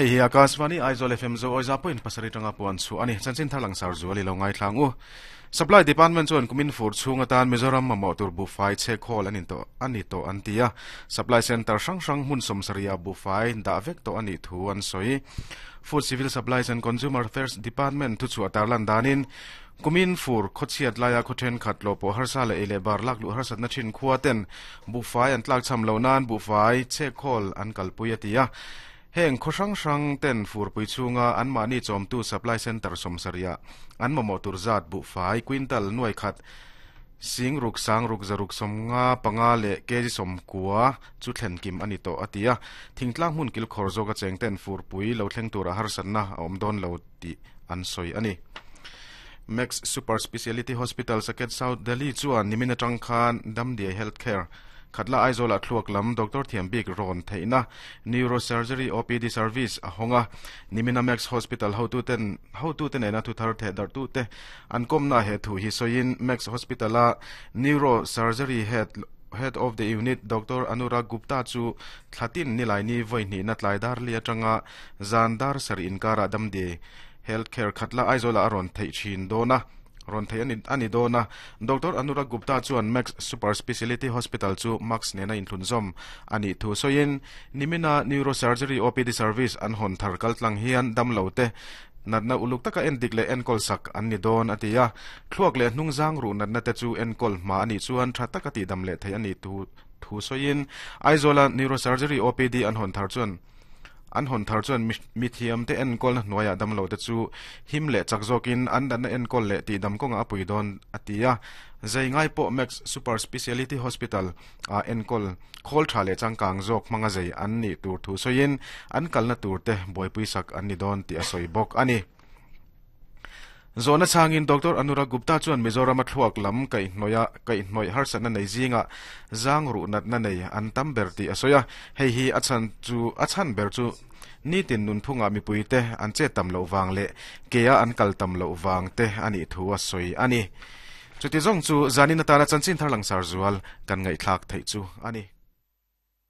Hei hi Akashvani Aizawl FM zo awiza point pasarih tanga puan chhuah a ni. Chanchin thar langsar zual i lo ngaithlang u. Supply Department chuan kumin fur chhung atan Mizoram mamawh tur buhfai chhek hawl an intawh a ni tawh an ti a. Supply Centre hrang hrang hmun sawmsarih ah buhfai dah vek tawh a nih thu an sawi. Food Civil Supplies and Consumer Affairs Department thuchhuah tarlan danin Kumin fur khawchhiat laia khaw thenkhat lawh pawh harsa leh ei leh bar lak luh harsatna thin khua ten buhfai an tlakchham loh nan buhfai chhekhawl an kalpui a ti a. Heng khaw hrang hrang ten furpui chhunga anmahni chawmtu supply centre sawmsarihah an mamawh tur zat buhfai quintal nuai khat sing ruk sang ruk zaruk sawmnga panga leh kg sawmkua chu thlen kim a ni tawh a ti a. Thingtlang hmun kilkhawr zawka cheng ten furpui lo thleng tura harsatna a awm dawn lo tih an sawi a ni. Max Super Speciality Hospital Saket South Delhi chuan nimin atang khan Damdiai Health Care Khatla Aizawlah thluak lam doctor thiam bik rawn theihna Neurosurgery OPD service a hawng a. Nimina Max Hospital hotuten hotute nena thuthar thehdarhtute an kawmna he thu hi sawiin Max Hospital-a Neurosurgery Head Head of the Unit Doctor Anurag Gupta chu thlatin nilaini vawi hnihna tlai dar li atanga Zan dar sarih inkarah Damdiai Health Care Khatla Aizawlah a rawn theih thin dawn a, rawn theih a ni dawn a. Doctor Anurag Gupta chuan Max Super Speciality Hospital chu Max nena inthlunzawm a nih thu sawiin, nimina Neurosurgery OPD service an hawn thar kaltlang hian damlo te natna uluk taka endik leh enkawl sak an ni dawn a ti a. Thluak leh hnungzang ruh natna te chu enkawl hma a nih chuan tha taka tihdam leh theih a nih thu sawiin, Aizawla Neurosurgery OPD an hawn thar chuan An hawn thar chuan mithiamte enkawlna hnuaiah damlote chu him leh chak zawkin an natna enkawl leh tihdam kawngah a pui dawn a ti a. Zai ngai pawh Max Super Speciality Hospital ah enkawl khawl tha leh changkang zawk hmanga zai an nih tur thu sawiin an kalna turte buaipui sak an ni dawn tih a sawi bawk a ni. Zawhna chhangin Doctor Anurag Gupta chuan Mizorama thluak lam kaihhnawih kaihhnawih harsatna nei zingah zang ruh natna nei an tam ber tih a sawi a. Hei hi a chhan chu a chhan ber chu nitin nunphungah mipuite an chet tam loh vang leh kea an kal tam loh vang te a nih thu a sawi a ni. Chuti zawng chu zanin atana chanchin thar langsar zual kan ngaihthlak theih chu a ni.